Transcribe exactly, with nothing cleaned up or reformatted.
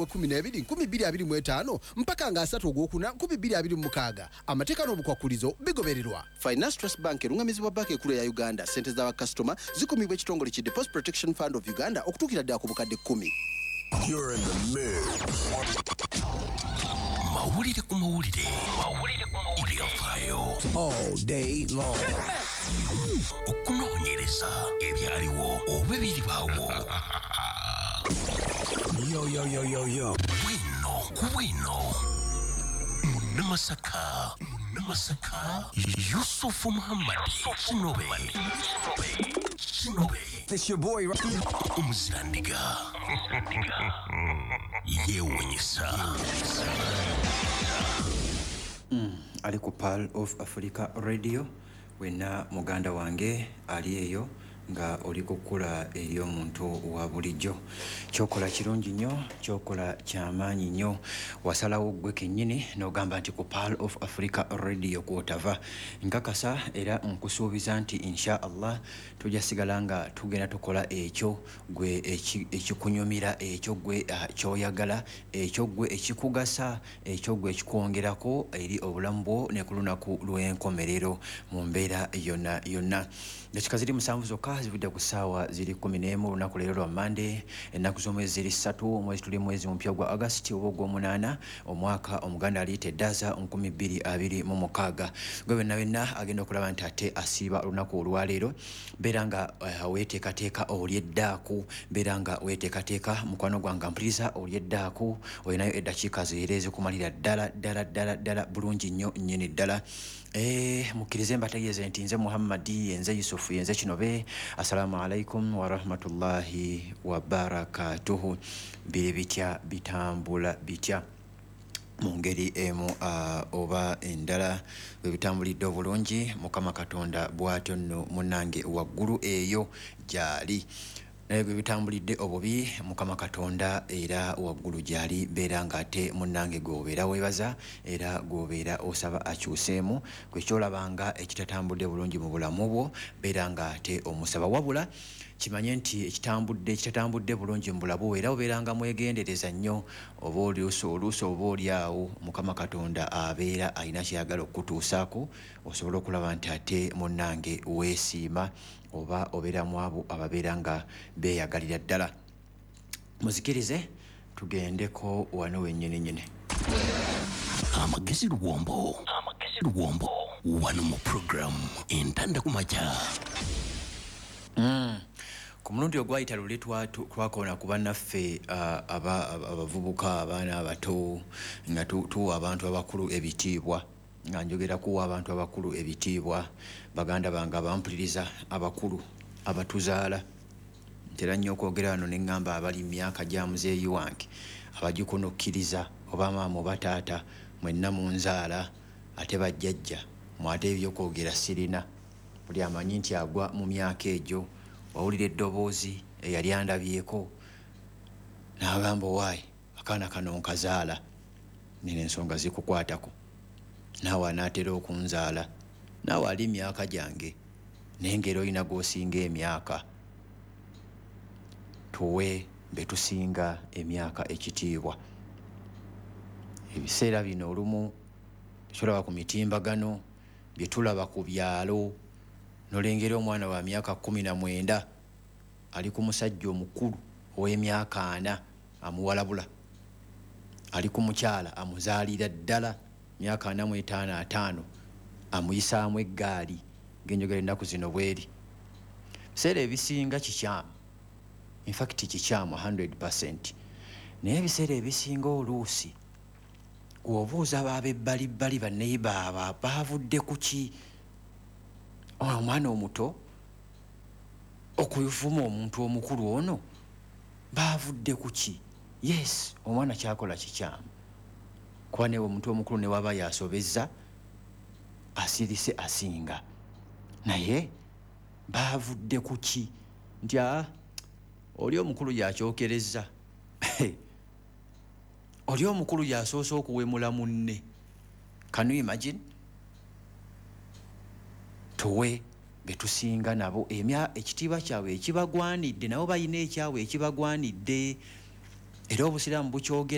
Kumi n'ebiri nkumi bbiri abiri mu etaano mpaka nga asatu ogwokuna nkumi bbiri abiri mu mukaaga. Amateeka n'obukwakulizo bigobererwa. Finance Trust Bank erungamizibwa Banka Ekulu eya Uganda. Ssente z'abakasitoma zikumibwa ekitongole ki Deposit Protection Fund of Uganda okutuukira ddala ku bukadde kkumi. You're in the mix. Mawulire ku mawulire. Mawulire ku mawulire. Ebyafaayo. All day long. Okunoonyereza ebyaliwo oba ebiribaawo. Yo, yo, yo, yo, yo. Bwino ku bwino. Munnamasaka. Munnamasaka. Yusufu Muhammad. Kinobe. Kinobe. It's your boy. Omuzirandiga. Yeewuunyisa. Mm, ali ku Pearl of Africa Radio, wenna muganda wange ali eyo nga oli kukula eri omuntu wa bulijjo. Kyokola kirungi nnyo, kyokola kyamaanyi nnyo. Wasalawo ggwe kennyini n'ogamba nti ku Pearl of Africa Radio kw'otava. Nkakasa era nkusuubiza nti insha Allah tujja sigala nga tugenda tukola ekyo gwe ekikunyumira, ekyo gwe ky'oyagala, ekyo gwe ekikugasa, ekyo gwe ekikwongerako eri obulamu bwo ne ku lunaku lw'enkomerero mu mbeera yonna yonna. Dakika ziri musanvu zokka zivudde ku ssaawa ziri kkumi n'emu olunaku leero lwa Mmande, ennaku z'omwezi ziri ssatu, omwezi tuli mwezi mupya gwa August oba ogw'omunaana, omwaka Omuganda aliyita eddaza nkumi bbiri abiri mu mukaaga. Gwe wenna wenna agenda okulaba nti ate asiiba olunaku olwaleero, beera nga uh, weeteekateeka olyeddaako, beera nga weeteekateeka mukwano gwange mpuliriza olyeddaako, olinayo eddakiika zeera ezikumalira ddala ddala ddala ddala bulungi nnyo nnyini ddala. Eh, mukkirize mbategeeze nti nze Muhammadi, nze Yusufu, nze Kinobe. Assalamu alaikum warahmatullahi wabarakatuhu. Biri bitya, bitambula bitya mu ngeri emu uh, oba endala bwe bitambulidde obulungi. Mukama Katonda bw'atyo nno munnange waggulu eyo gy'ali, naye bwe bitambulidde obubi Mukama Katonda era waggulu gy'ali. Beera ng'ate munnange gw'obeera weebaza era gw'obeera osaba akyuseemu gwe ky'olabanga ekitatambudde bulungi mu bulamu bwo, beera ng'ate omusaba. Wabula kimanye nti ekitambudde ekitatambudde bulungi mu bulamu bwo era obeeranga mwegendereza nnyo, oba oluusi oluusi oba oli awo Mukama Katonda abeera alina ky'ayagala okukutuusaako osobole okulaba nti ate munnange weesiima oba obeera mu abo ababeera nga beeyagalira ddala. Muzikirize tugendeko wano wennyini nnyini. Amagezi luwombo. Amagezi luwombo. Wano mu program Entanda ku Makya. Mm. Ku mulundi ogwayita luli twakoona ku bannaffe abavubuka, abaana abato, nga tuwa abantu abakulu ebitiibwa, nga njogera kuwa abantu abakulu ebitiibwa, baganda bange abampuliriza abakulu abatuzaala. Ntera nnyo okwogera wano ne ŋŋamba abali mu myaka gya muzeeyi wange abagikunukkiriza oba maama oba taata mwenna munzaala, ate bajjajja mwate ebyokwogera sirina. Buli amanyi nti agwa mu myaka egyo, wawulira eddoboozi eyali andabyeko n'agamba owaayi akaana kano nkazaala, nina ensonga zikukwatako, naawe anaatera okunzaala, naawe ali myaka gyange, naye ng'era olina gw'osinga emyaka. Tuwe be tusinga emyaka ekitiibwa. Ebiseera bino olumu tulaba ku mitimbagano, bye tulaba ku byalo, nolengera omwana wa myaka kkumi na mwenda ali ku musajja omukulu ow'emyaka ana amuwalabula, ali ku mukyala amuzaalira ddala myaka ana mu etaano ataano amuyisaamu eggaali ng'enjogera ennaku zino bweri. Ebiseera ebisinga kikyamu, in fact kikyamu one hundred percent, naye ebiseera ebisinga oluusi bw'obuuza b'abebbalibbali banneyiba abo baavudde ku ki? Omwana omuto okuvuma omuntu omukulu ono baavudde ku ki? Yes, omwana kyakola kikyamu, kuba newe omuntu omukulu ne waba yasobezza asirise asinga, naye baavudde ku ki? Nti aa oli omukulu yakyokerezza, oli omukulu yasoose okuwemula munne. Can you imagine? Tuwe betusinga nabo emya ekitiibwa kyabwe ekibagwanidde, nabo balina ekyabwe ekibagwanidde. Era obusiraamu bukyogera.